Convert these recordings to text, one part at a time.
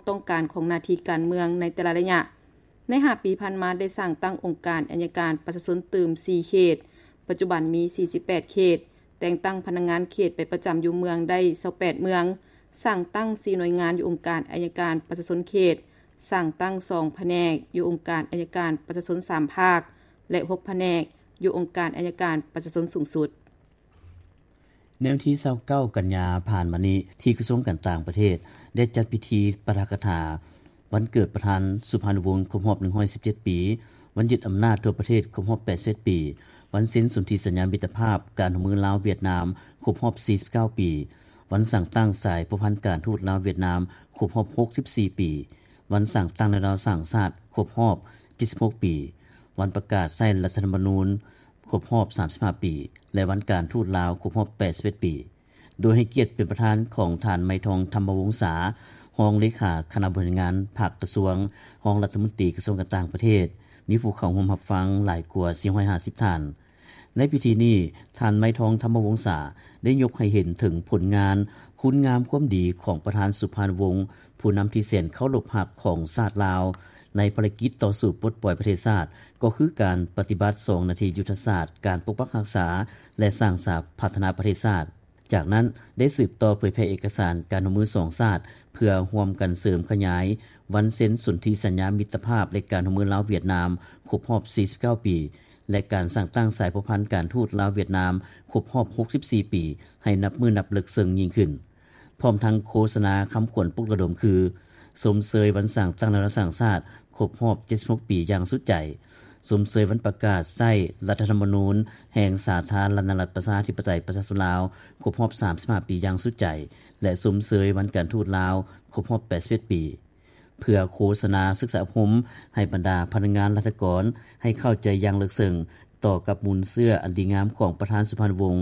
ຕ້ອງການຂອງໜ້າທີ່ການເມືອງໃນແຕ່ລະໄລຍະ. ໃນຫ້າປີຜ່ານມາ ໄດ້ສ້າງຕັ້ງອົງການໄອຍະການປະຊາຊົນຕື່ມສີ່ເຂດ, ປັດຈຸບັນມີສີ່ສິບແປດເຂດ, ແຕ່ງຕັ້ງພະນັກງານເຂດໄປປະຈຳຢູ່ເມືອງໄດ້ຊາວແປດເມືອງ, ສ້າງຕັ້ງສີ່ໜ່ວຍງານຢູ່ອົງການໄອຍະການປະຊາຊົນເຂດ, ສ້າງຕັ້ງສອງພະແນກຢູ່ອົງການໄອຍະການປະຊາຊົນສາມພາກ ແລະ ຫົກພະແນກຢູ່ອົງການໄອຍະການປະຊາຊົນສູງສຸດ. ໃນວັນທີຊາວເກົ້າ ກັນຍາຜ່ານມານີ້ ທີ່ກະຊວງການຕ່າງປະເທດ ໄດ້ຈັດພິທີປາຖະກະຖາວັນເກີດປະທານສຸພານຸວົງ ຄົບຮອບໜຶ່ງຮ້ອຍສິບເຈັດປີ, ວັນຍຶດອຳນາດທົ່ວປະເທດ ຄົບຮອບແປດສິບເອັດປີ, ວັນເຊັນສົນທິສັນຍາມິດຕະພາບການຮ່ວມມືລາວ-ຫວຽດນາມ ຄົບຮອບສີ່ສິບເກົ້າປີ, ວັນສ້າງຕັ້ງສາຍພົວພັນການທູດລາວ-ຫວຽດນາມ ຄົບຮອບຫົກສິບສີ່ປີ, ວັນສ້າງຕັ້ງແນວລາວສ້າງຊາດ ຄົບຮອບເຈັດສິບຫົກປີ, ວັນປະກາດໃຊ້ລັດຖະທຳມະນູນ ຄົບຮອບສາມສິບຫ້າປີ ແລະ ວັນການທູດລາວ ຄົບຮອບແປດສິບເອັດປີ, ໂດຍໃຫ້ກຽດເປັນປະທານຂອງທ່ານ ໄມທອງ ທຳມະວົງສາ, ຮອງເລຂາຄະນະບໍລິຫານງານພັກກະຊວງ, ຮອງລັດຖະມົນຕີກະຊວງການຕ່າງປະເທດ, ມີຜູ້ເຂົ້າຮ່ວມຮັບຟັງຫຼາຍກວ່າສີ່ຮ້ອຍຫ້າສິບທ່ານ. ໃນພິທີນີ້, ທ່ານ ໄມທອງ ທຳມະວົງສາ ໄດ້ຍົກໃຫ້ເຫັນເຖິງຜົນງານ, ຄຸນງາມຄວາມດີຂອງປະທານສຸພານຸວົງ, ຜູ້ນຳທີ່ແສນເຄົາລົບຮັກຂອງຊາດລາວ ໃນພາລະກິດຕໍ່ສູ້ປົດປ່ອຍປະເທດຊາດ, ກໍຄືການປະຕິບັດສອງໜ້າທີ່ຍຸດທະສາດ ການປົກປັກຮັກສາ ແລະ ສ້າງສາພັດທະນາປະເທດຊາດ. ຈາກນັ້ນ ໄດ້ສືບຕໍ່ເຜີຍແຜ່ເອກະສານການຮ່ວມມືສອງຊາດ ເພື່ອຮ່ວມກັນເສີມຂະຫຍາຍວັນເຊັນສົນທິສັນຍາມິດຕະພາບ ແລະ ການຮ່ວມມືລາວ-ຫວຽດນາມ ຄົບຮອບສີ່ສິບເກົ້າປີ ແລະ ການສ້າງຕັ້ງສາຍພົວພັນການທູດລາວ-ຫວຽດນາມ ຄົບຮອບຫົກສິບສີ່ປີ ໃຫ້ນັບມື້ນັບເລິກເຊິ່ງຍິ່ງຂຶ້ນ. ພ້ອມທັງໂຄສະນາຄຳຂວັນປຸກລະດົມຄື ຊົມເຊີຍວັນສ້າງຕັ້ງແນວລາວສ້າງຊາດ ຄົບຮອບເຈັດສິບຫົກປີຢ່າງສຸດໃຈ, ຊົມເຊີຍວັນປະກາດໃຊ້ລັດຖະທຳມະນູນແຫ່ງສາທາລະນະລັດປະຊາທິປະໄຕປະຊາຊົນລາວ ຄົບຮອບສາມສິບຫ້າປີຢ່າງສຸດໃຈ ແລະ ຊົມເຊີຍວັນການທູດລາວ ຄົບຮອບແປດສິບເອັດປີ. ເພື່ອໂຄສະນາສຶກສາອົບຮົມໃຫ້ບັນດາພະນັກງານລັດຖະກອນໃຫ້ເຂົ້າໃຈຢ່າງເລິກເຊິ່ງຕໍ່ກັບມູນເຊື້ອອັນດີງາມຂອງປະທານສຸພານຸວົງ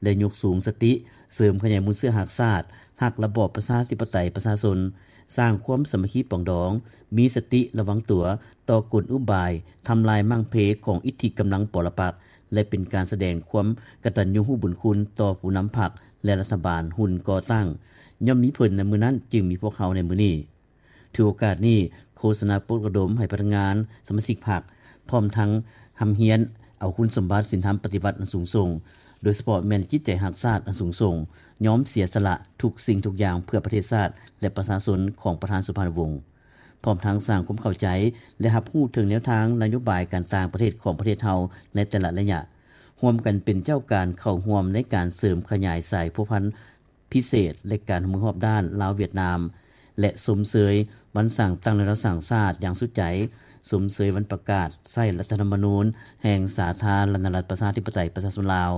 ແລະ ຍົກສູງສະຕິເສີມຂະຫຍາຍມູນເຊື້ອຮັກຊາດ, ຮັກລະບອບປະຊາທິປະໄຕປະຊາຊົນ, ສ້າງຄວາມສາມັກຄີປອງດອງ, ມີສະຕິລະວັງຕົວຕໍ່ກົນອຸບາຍທຳລາຍມ້າງເພຂອງອິດທິກຳລັງປໍລະປັກ ແລະ ເປັນການສະແດງຄວາມກະຕັນຍູຮູ້ບຸນຄຸນຕໍ່ຜູ້ນຳພັກ ແລະ ລັດຖະບານຮຸ່ນກໍ່ຕັ້ງ. ຍ້ອນມີເພິ່ນໃນມື້ນັ້ນ ຈຶ່ງມີພວກເຮົາໃນມື້ນີ້. ຖືໂອກາດນີ້ ໂຄສະນາປຸກລະດົມໃຫ້ພະນັກງານສະມາຊິກພັກ ພ້ອມທັງຮ່ຳຮຽນເອົາຄຸນສົມບັດສິນທຳປະຕິວັດອັນສູງສົ່ງ, ໂດຍສະເພາະແມ່ນຈິດໃຈຮັກຊາດອັນສູງສົ່ງ, ຍອມເສຍສະຫຼະທຸກສິ່ງທຸກຢ່າງເພື່ອປະເທດຊາດ ແລະ ປະຊາຊົນຂອງປະທານສຸພານຸວົງ, ພ້ອມທັງສ້າງຄວາມເຂົ້າໃຈ ແລະ ຮັບຮູ້ເຖິງແນວທາງນະໂຍບາຍການຕ່າງປະເທດຂອງປະເທດເຮົາໃນແຕ່ລະໄລຍະ, ຮ່ວມກັນເປັນເຈົ້າການເຂົ້າຮ່ວມໃນການເສີມຂະຫຍາຍສາຍພົວພັນ ພິເສດ ແລະ ການຮ່ວມມືຮອບດ້ານລາວ-ຫວຽດນາມ ແລະ ຊົມເຊີຍວັນສ້າງຕັ້ງແນວລາວສ້າງຊາດຢ່າງສຸດໃຈ, ຊົມເຊີຍວັນປະກາດໃຊ້ລັດຖະທຳມະນູນແຫ່ງສາທາລະນະລັດປະຊາທິປະໄຕປະຊາຊົນລາວ.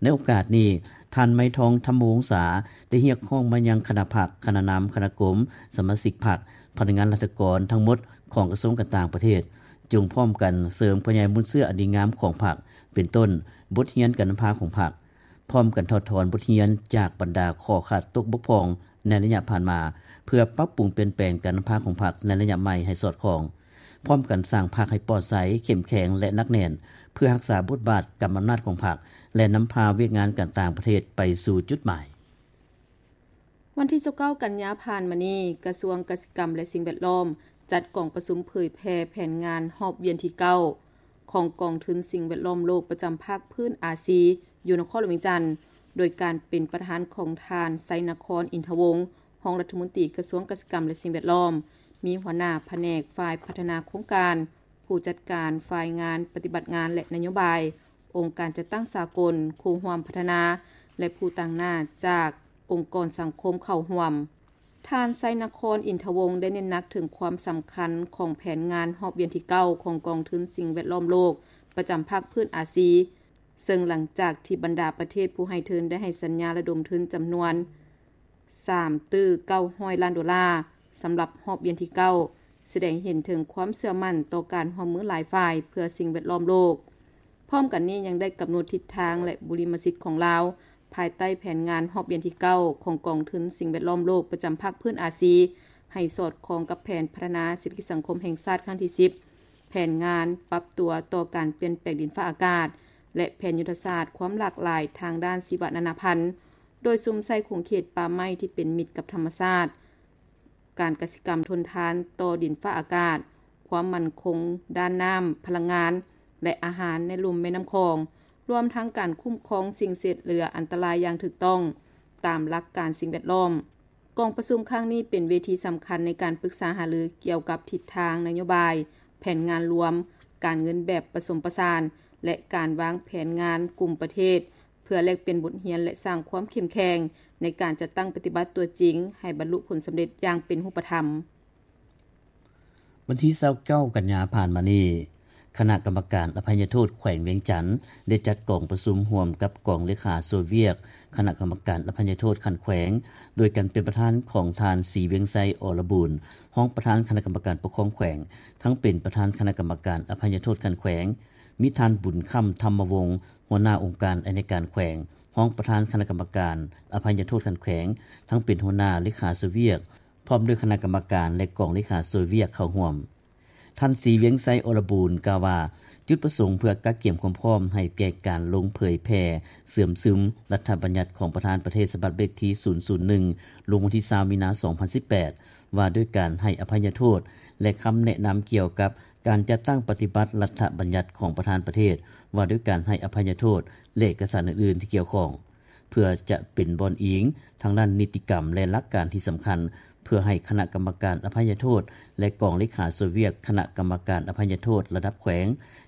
ໃນໂອກາດນີ້, ທ່ານ ໄມທອງ ທຳມະວົງສາ ໄດ້ຮຽກຮ້ອງມາຍັງຄະນະພັກ, ຄະນະນຳ, ຄະນະກົມ, ສະມາຊິກພັກ, ພະນັກງານລັດຖະກອນທັງໝົດຂອງກະຊວງການຕ່າງປະເທດ, ຈົ່ງພ້ອມກັນເສີມຂະຫຍາຍມູນເຊື້ອອັນດີງາມຂອງພັກ, ເປັນຕົ້ນ ບົດຮຽນການນຳພາຂອງພັກ, ພ້ອມກັນຖອດຖອນບົດຮຽນຈາກບັນດາຂໍ້ຂາດຕົກບົກຜ່ອງໃນໄລຍະຜ່ານມາ ເພື່ອປັບປຸງປ່ຽນແປງການນຳພາຂອງພັກໃນໄລຍະໃໝ່ໃຫ້ສອດຄ່ອງ, ພ້ອມກັນສ້າງພັກໃຫ້ປອດໃສ, ເຂັ້ມແຂງ ແລະ ໜັກແໜ້ນ ເພື່ອຮັກສາບົດບາດກຳອຳນາດຂອງພັກ ແລະ ນຳພາວຽກງານການຕ່າງປະເທດໄປສູ່ຈຸດໝາຍ. ວັນທີຊາວເກົ້າ ກັນຍາຜ່ານມານີ້, ກະຊວງກະສິກຳ ແລະ ສິ່ງແວດລ້ອມ ຈັດກອງປະຊຸມເຜີຍແຜ່ແຜນງານຮອບວຽນທີເກົ້າ ຂອງກອງທຶນສິ່ງແວດລ້ອມໂລກປະຈຳພາກພື້ນອາຊີ ຢູ່ນະຄອນຫຼວງວຽງຈັນ ໂດຍການເປັນປະທານຂອງທ່ານ ໄຊນະຄອນ ອິນທະວົງ ຮອງລັດຖະມົນຕີກະຊວງກະສິກຳ ແລະ ສິ່ງແວດລ້ອມ, ມີຫົວໜ້າພະແນກຝ່າຍພັດທະນາໂຄງການ, ຜູ້ຈັດການ, ຝ່າຍງານປະຕິບັດງານ ແລະ ນະໂຍບາຍ, ອົງການຈັດຕັ້ງສາກົນ, ຄູ່ຮ່ວມພັດທະນາ ແລະ ຜູ້ຕາງໜ້າຈາກອົງກອນສັງຄົມເຂົ້າຮ່ວມ. ທ່ານ ໄຊນະຄອນ ອິນທະວົງ ໄດ້ເນັ້ນໜັກເຖິງຄວາມສຳຄັນຂອງແຜນງານຮອບວຽນທີເກົ້າ ຂອງກອງທຶນສິ່ງແວດລ້ອມໂລກປະຈຳພາກພື້ນອາຊີ, ເຊິ່ງຫຼັງຈາກທີ່ບັນດາປະເທດຜູ້ໃຫ້ທຶນໄດ້ໃຫ້ສັນຍາລະດົມທຶນຈຳນວນ ສາມຕື້ເກົ້າຮ້ອຍລ້ານໂດລາ ສຳລັບຮອບວຽນທີເກົ້າ ສະແດງເຫັນເຖິງຄວາມເຊື່ອໝັ້ນຕໍ່ການຮ່ວມມືຫຼາຍຝ່າຍເພື່ອສິ່ງແວດລ້ອມໂລກ. ພ້ອມກັນນີ້ຍັງໄດ້ກຳນົດທິດທາງ ແລະ ບຸລິມະສິດຂອງລາວ ພາຍໃຕ້ແຜນງານຮອບວຽນທີເກົ້າ ຂອງກອງທຶນສິ່ງແວດລ້ອມໂລກປະຈຳພາກພື້ນອາຊີ ໃຫ້ສອດຄ່ອງກັບແຜນພັດທະນາເສດຖະກິດສັງຄົມແຫ່ງຊາດຄັ້ງທີສິບ, ແຜນງານປັບຕົວຕໍ່ການປ່ຽນແປງດິນຟ້າອາກາດ ແລະ ແຜນຍຸດທະສາດຄວາມຫຼາກຫຼາຍທາງດ້ານຊີວະນານາພັນ, ໂດຍສຸມໃສ່ຂົງເຂດປ່າໄມ້ທີ່ເປັນມິດກັບທຳມະຊາດ, ການກະສິກຳທົນທານຕໍ່ດິນຟ້າອາກາດ, ຄວາມໝັ້ນຄົງດ້ານນ້ຳ, ພະລັງງານ ແລະ ອາຫານໃນລຸ່ມແມ່ນ້ຳຂອງ, ລວມທັງການຄຸ້ມຄອງສິ່ງເສດເຫຼືອອັນຕະລາຍຢ່າງຖືກຕ້ອງຕາມຫຼັກການສິ່ງແວດລ້ອມ. ກອງປະຊຸມຄັ້ງນີ້ເປັນເວທີສຳຄັນໃນການປຶກສາຫາລືກ່ຽວກັບທິດທາງນະໂຍບາຍ, ແຜນງານລວມ, ການເງິນແບບປະສົມປະສານ ແລະ ການວາງແຜນງານກຸ່ມປະເທດ ເພື່ອແລກປ່ຽນບົດຮຽນ ແລະ ສ້າງຄວາມເຂັ້ມແຂງໃນການຈັດຕັ້ງປະຕິບັດຕົວຈິງໃຫ້ບັນລຸຜົນສຳເລັດຢ່າງເປັນຮູບປະທຳ. ວັນທີຊາວເກົ້າ ກັນຍາຜ່ານມານີ້, ຄະນະກຳມະການອະໄພຍະໂທດແຂວງວຽງຈັນ ໄດ້ຈັດກອງປະຊຸມຮ່ວມກັບກອງເລຂາຊ່ວຍວຽກຄະນະກຳມະການອະໄພຍະໂທດຂັ້ນແຂວງ, ໂດຍການເປັນປະທານຂອງທ່ານ ສີວຽງໄຊ ອລະບູນ ຮອງປະທານຄະນະກຳມະການປົກຄອງແຂວງ, ທັງເປັນປະທານຄະນະກຳມະການອະໄພຍະໂທດຂັ້ນແຂວງ, ມີທ່ານ ບຸນຄຳ ທຳມະວົງ ຫົວໜ້າອົງການໄອຍະການແຂວງ, ຮອງປະທານຄະນະກຳມະການອະໄພຍະໂທດຂັ້ນແຂວງ, ທັງເປັນຫົວໜ້າເລຂາຊ່ວຍວຽກ ພ້ອມດ້ວຍຄະນະກຳມະການ ແລະ ກອງເລຂາຊ່ວຍວຽກເຂົ້າຮ່ວມ. ທ່ານ ສີວຽງໄຊ ອລະບູນ ກ່າວວ່າ ຈຸດປະສົງເພື່ອກະກຽມຄວາມພ້ອມໃຫ້ແກ່ການລົງເຜີຍແຜ່ເຊື່ອມຊຶມລັດຖະບັນຍັດຂອງປະທານປະເທດ ສະບັບເລກທີສູນສູນໜຶ່ງ ລົງວັນທີຊາວ ມີນາ ສອງພັນສິບແປດ ວ່າດ້ວຍການໃຫ້ອະໄພຍະໂທດ ແລະ ຄຳແນະນຳກ່ຽວກັບການຈັດຕັ້ງປະຕິບັດລັດຖະບັນຍັດຂອງປະທານປະເທດ ວ່າດ້ວຍການໃຫ້ອະໄພຍະໂທດ ແລະ ເອກະສານອື່ນໆທີ່ກ່ຽວຂ້ອງ. ເພື່ອຈະເປັນບ່ອນອີງທາງດ້ານນິຕິກຳ ແລະ ຫຼັກການທີ່ສຳຄັນ ເພື່ອໃຫ້ຄະນະກຳມະການອະໄພຍະໂທດ ແລະ ກອງເລຂາຊ່ວຍວຽກຄະນະກຳມະການອະໄພຍະໂທດລະດັບແຂວງ,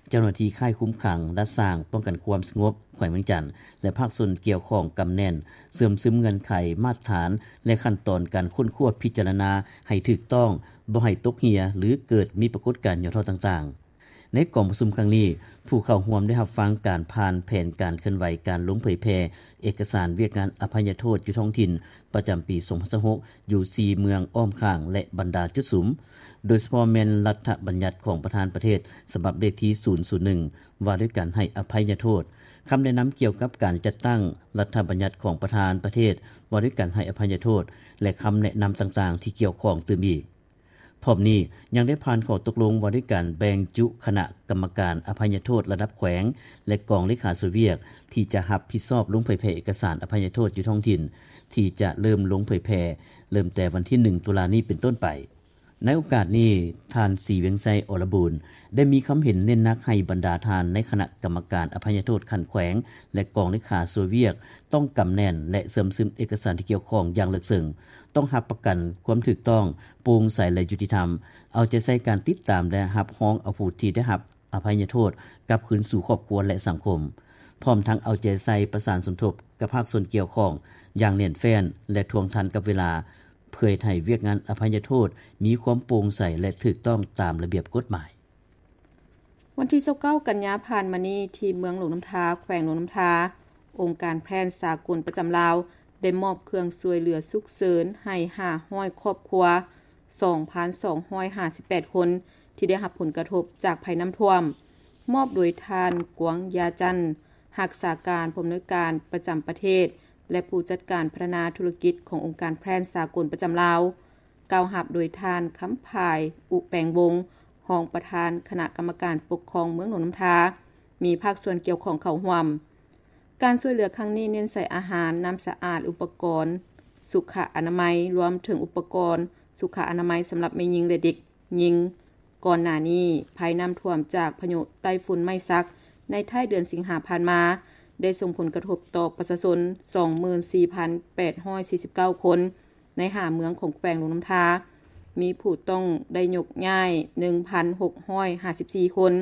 ເຈົ້າໜ້າທີ່ຄ້າຍຄຸມຂັງ, ລັດສ້າງ, ປ້ອງກັນຄວາມສະຫງົບແຂວງວຽງຈັນ ແລະ ພາກສ່ວນກ່ຽວຂ້ອງກຳແໜ້ນ, ເຊື່ອມຊຶມເງື່ອນໄຂ, ມາດຖານ ແລະ ຂັ້ນຕອນການຄົ້ນຄວ້າພິຈາລະນາໃຫ້ຖືກຕ້ອງ, ບໍ່ໃຫ້ຕົກເຮ່ຍ ຫຼື ເກີດມີປາກົດການຫຍໍ້ທໍ້ຕ່າງໆ. ໃນກອງປະຊຸມຄັ້ງນີ້, ຜູ້ເຂົ້າຮ່ວມໄດ້ຮັບຟັງການຜ່ານແຜນການເຄື່ອນໄຫວການລົງເຜີຍແຜ່ເອກະສານວຽກງານອະໄພຍະໂທດຢູ່ທ້ອງຖິ່ນປະຈຳປີສອງພັນຊາວຫົກ ຢູ່ສີ່ເມືອງອ້ອມຂ້າງ ແລະ ບັນດາຈຸດສຸມ, ໂດຍສະເພາະແມ່ນລັດຖະບັນຍັດຂອງປະທານປະເທດ ສະບັບເລກທີສູນສູນໜຶ່ງ ວ່າດ້ວຍການໃຫ້ອະໄພຍະໂທດ, ຄຳແນະນຳກ່ຽວກັບການຈັດຕັ້ງລັດຖະບັນຍັດຂອງປະທານປະເທດ ວ່າດ້ວຍການໃຫ້ອະໄພຍະໂທດ ແລະ ຄຳແນະນຳຕ່າງໆທີ່ກ່ຽວຂ້ອງຕື່ມອີກ. ພ້ອມນີ້ຍັງໄດ້ຜ່ານຂໍ້ຕົກລົງວ່າດ້ວຍການແບ່ງຈຸຄະນະກຳມະການອະໄພຍະໂທດລະດັບແຂວງ ແລະ ກອງເລຂາຊ່ວຍວຽກ ທີ່ຈະຮັບຜິດຊອບລົງເຜີຍແຜ່ເອກະສານອະໄພຍະໂທດຢູ່ທ້ອງຖິ່ນ ທີ່ຈະເລີ່ມລົງເຜີຍແຜ່ ເລີ່ມແຕ່ວັນທີໜຶ່ງ ຕຸລານີ້ເປັນຕົ້ນໄປ. ໃນໂອກາດນີ້, ທ່ານ ສີວຽງໄຊ ອລະບູນ ໄດ້ມີຄຳເຫັນເນັ້ນໜັກໃຫ້ບັນດາທ່ານໃນຄະນະກຳມະການອະໄພຍະໂທດຂັ້ນແຂວງ ແລະ ກອງເລຂາຊ່ວຍວຽກ ຕ້ອງກຳແໜ້ນ ແລະ ເຊື່ອມຊຶມເອກະສານທີ່ກ່ຽວຂ້ອງຢ່າງເລິກເຊິ່ງ, ຕ້ອງຮັບປະກັນຄວາມຖືກຕ້ອງ, ໂປ່ງໃສ ແລະ ຍຸຕິທຳ, ເອົາໃຈໃສ່ການຕິດຕາມ ແລະ ຮັບຮອງເອົາຜູ້ທີ່ໄດ້ຮັບອະໄພຍະໂທດກັບຄືນສູ່ຄອບຄົວ ແລະ ສັງຄົມ, ພ້ອມທັງເອົາໃຈໃສ່ປະສານສົມທົບກັບພາກສ່ວນກ່ຽວຂ້ອງຢ່າງແໜ້ນແຟ້ນ ແລະ ທ່ວງທັນກັບເວລາ, ເພື່ອເຮັດໃຫ້ວຽກງານອະໄພຍະໂທດມີຄວາມໂປ່ງໃສ ແລະ ຖືກຕ້ອງຕາມລະບຽບກົດໝາຍ. ວັນທີຊາວເກົ້າ ກັນຍາຜ່ານມານີ້, ທີ່ເມືອງຫຼວງນ້ຳທາ, ແຂວງຫຼວງນ້ຳທາ, ອົງການແພນສາກົນປະຈຳລາວ ໄດ້ມອບເຄື່ອງຊ່ວຍເຫຼືອສຸກເສີນໃຫ້ຫ້າຮ້ອຍຄອບຄົວ, ສອງພັນສອງຮ້ອຍຫ້າສິບແປດຄົນ ທີ່ໄດ້ຮັບຜົນກະທົບຈາກໄພນ້ຳຖ້ວມ, ມອບໂດຍທ່ານ ກວາງຢາຈັນ, ຮັກສາການຜູ້ອຳນວຍການປະຈຳປະເທດ ແລະ ຜູ້ຈັດການພັດທະນາທຸລະກິດຂອງອົງການແພນສາກົນປະຈຳລາວ, ກ່າວຮັບໂດຍທ່ານ ຄຳພາຍ ອຸແປງວົງ, ຮອງປະທານຄະນະກຳມະການປົກຄອງເມືອງຫຼວງນ້ຳທາ, ມີພາກສ່ວນກ່ຽວຂ້ອງເຂົ້າຮ່ວມ. ການຊ່ວຍເຫຼືອຄັ້ງນີ້ເນັ້ນໃສ່ອາຫານ, ນ້ຳສະອາດ, ອຸປະກອນສຸຂະອະນາໄມ, ລວມເຖິງອຸປະກອນສຸຂະອະນາໄມສຳລັບແມ່ຍິງ ແລະ ເດັກຍິງ. ກ່ອນໜ້ານີ້, ໄພນ້ຳຖ້ວມຈາກພາຍຸໄຕ້ຝຸ່ນໄມ້ສັກ ໃນທ້າຍເດືອນສິງຫາຜ່ານມາ ໄດ້ສົ່ງຜົນກະທົບຕໍ່ປະຊາຊົນ ສອງໝື່ນສີ່ພັນແປດຮ້ອຍສີ່ສິບເກົ້າຄົນ ໃນຫ້າເມືອງຂອງແຂວງຫຼວງນ້ຳທາ, ມີຜູ້ຕ້ອງໄດ້ຍົກຍ້າຍ ໜຶ່ງພັນຫົກຮ້ອຍຫ້າສິບສີ່ຄົນ,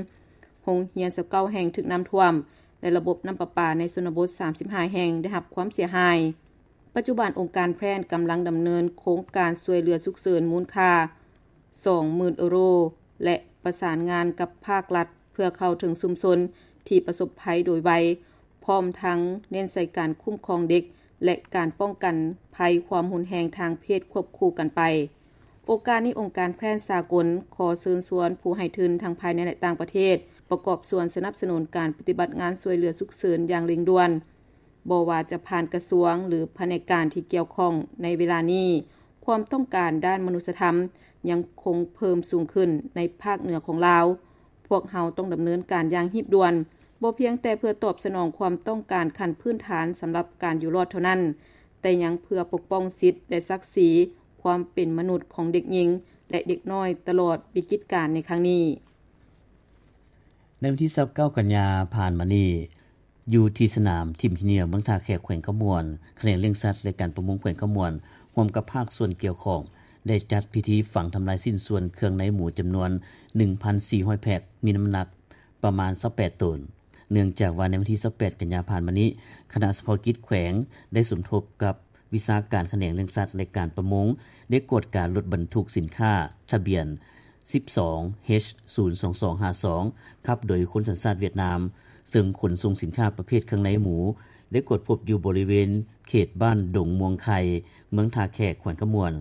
ໂຮງຮຽນຊາວເກົ້າແຫ່ງຖືກນ້ຳຖ້ວມ ແລະ ລະບົບນ້ຳປະປາໃນຊົນນະບົດ ສາມສິບຫ້າແຫ່ງ ໄດ້ຮັບຄວາມເສຍຫາຍ. ປັດຈຸບັນ, ອົງການແພນກຳລັງດຳເນີນໂຄງການຊ່ວຍເຫຼືອສຸກເສີນມູນຄ່າ ສອງໝື່ນເອີໂຣ ແລະ ປະສານງານກັບພາກລັດ ເພື່ອເຂົ້າເຖິງຊຸມຊົນທີ່ປະສົບໄພໂດຍໄວ, ພ້ອມທັງເນັ້ນໃສ່ການຄຸ້ມຄອງເດັກ ແລະ ການປ້ອງກັນໄພຄວາມຮຸນແຮງທາງເພດຄວບຄູ່ກັນໄປ. ໂອກາດນີ້, ອົງການແພນສາກົນຂໍເຊີນຊວນຜູ້ໃຫ້ທຶນທັງພາຍໃນ ແລະ ຕ່າງປະເທດ ປະກອບສ່ວນສະໜັບສະໜູນການປະຕິບັດງານຊ່ວຍເຫຼືອສຸກເສີນຢ່າງເລັ່ງດ່ວນ. ບໍ່ວ່າຈະຜ່ານກະຊວງ ຫຼື ພະແນກການທີ່ກ່ຽວຂ້ອງໃນເວລານີ້, ຄວາມຕ້ອງການດ້ານມະນຸດສະທຳຍັງຄົງເພີ່ມສູງຂຶ້ນໃນພາກເໜືອຂອງລາວ. ພວກເຮົາຕ້ອງດຳເນີນການຢ່າງຮີບດ່ວນ, ບໍ່ພຽງແຕ່ເພື່ອຕອບສະໜອງຄວາມຕ້ອງການຂັ້ນພື້ນຖານສຳລັບການຢູ່ລອດເທົ່ານັ້ນ, ແຕ່ຍັງເພື່ອປົກປ້ອງສິດ ແລະ ສັກສີຄ ຄວາມເປັນມະນຸດຂອງເດັກຍິງ ແລະ ເດັກນ້ອຍຕະຫຼອດວິກິດການໃນຄັ້ງນີ້. ໃນວັນທີຊາວເກົ້າກັນຍາຜ່ານມານີ້ ຢູ່ທີ່ສະໜາມທິມຂີ້ເຫຍື້ອ ເມືອງທ່າແຂກ ແຂວງຄຳມ່ວນ, ຂະແໜງລ້ຽງສັດ ແລະ ການປະມົງແຂວງຄຳມ່ວນ ຮ່ວມກັບພາກສ່ວນກ່ຽວຂ້ອງ ໄດ້ຈັດພິທີຝັງທຳລາຍຊິ້ນສ່ວນເຄື່ອງໃນໝູຈຳນວນ ໜຶ່ງພັນສີ່ຮ້ອຍແພັກ ມີນ້ຳໜັກປະມານຊາວແປດໂຕນ. ເນື່ອງຈາກວ່າໃນວັນທີຊາວແປດກັນຍາຜ່ານມານີ້ ຄະນະສະເພາະກິດແຂວງໄດ້ສົມທົບກັບວິຊາການຂະແໜງລ້ຽງສັດ ແລະ ການປະມົງ ໄດ້ກວດກາລົດບັນທຸກສິນຄ້າທະບຽນ ສິບສອງ ເອັດ ສູນສອງສອງຫ້າສອງ ຂັບໂດຍຄົນສັນຊາດຫວຽດນາມ ເຊິ່ງຂົນສົ່ງສິນຄ້າປະເພດເຄື່ອງໃນໝູ ໄດ້ກວດພົບຢູ່ບໍລິເວນເຂດບ້ານດົງມ່ວງໄຂ່ ເມືອງທ່າແຂກ ແຂວງຄຳມ່ວນ.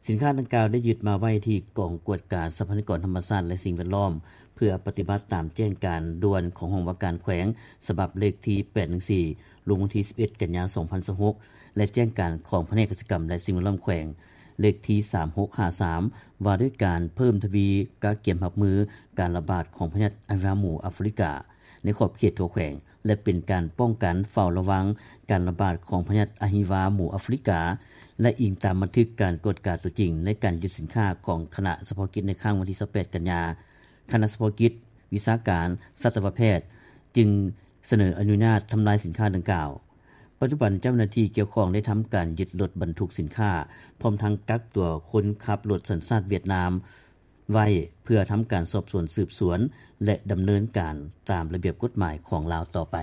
ສິນຄ້າດັ່ງກ່າວໄດ້ຍຶດມາໄວ້ທີ່ກອງກວດກາຊັບພະຍາກອນທຳມະຊາດ ແລະ ສິ່ງແວດລ້ອມ ເພື່ອປະຕິບັດຕາມແຈ້ງການດ່ວນຂອງຫ້ອງວ່າການແຂວງ ສະບັບເລກທີ ແປດໜຶ່ງສີ່ ລົງວັນທີ ສິບເອັດ ກັນຍາ ສອງພັນຊາວຫົກ ແລະ ແຈ້ງການຂອງພະແນກກະສິກຳ ແລະ ສິ່ງແວດລ້ອມແຂວງ ເລກທີ ສາມຫົກຫ້າສາມ ວ່າດ້ວຍການເພີ່ມທະວີກະກຽມຮັບມືການລະບາດຂອງພະຍາດອະຫິວາໝູອາຟຣິກາ ໃນຂອບເຂດທົ່ວແຂວງ ແລະ ເປັນການປ້ອງກັນເຝົ້າລະວັງການລະບາດຂອງພະຍາດອະຫິວາໝູອາຟຣິກາ ແລະ ອີງຕາມບັນທຶກການກວດກາຕົວຈິງໃນການຍຶດສິນຄ້າຂອງຄະນະສະເພາະກິດໃນຄັ້ງວັນທີ ຊາວແປດ ກັນຍາ, ຄະນະສະເພາະກິດວິຊາການສັດຕະວະແພດ ຈຶ່ງສະເໜີອະນຸຍາດທຳລາຍສິນຄ້າດັ່ງກ່າວ. ປັດຈຸບັນເຈົ້າໜ້າທີ່ກ່ຽວຂ້ອງໄດ້ທຳການຍຶດລົດບັນທຸກສິນຄ້າ ພ້ອມທັງກັກຕົວຄົນຂັບລົດສັນຊາດຫວຽດນາມ ໄວ້ ເພື່ອທຳການສອບສວນສືບສວນ ແລະ ດຳເນີນການຕາມລະບຽບກົດໝາຍຂອງລາວຕໍ່ໄປ.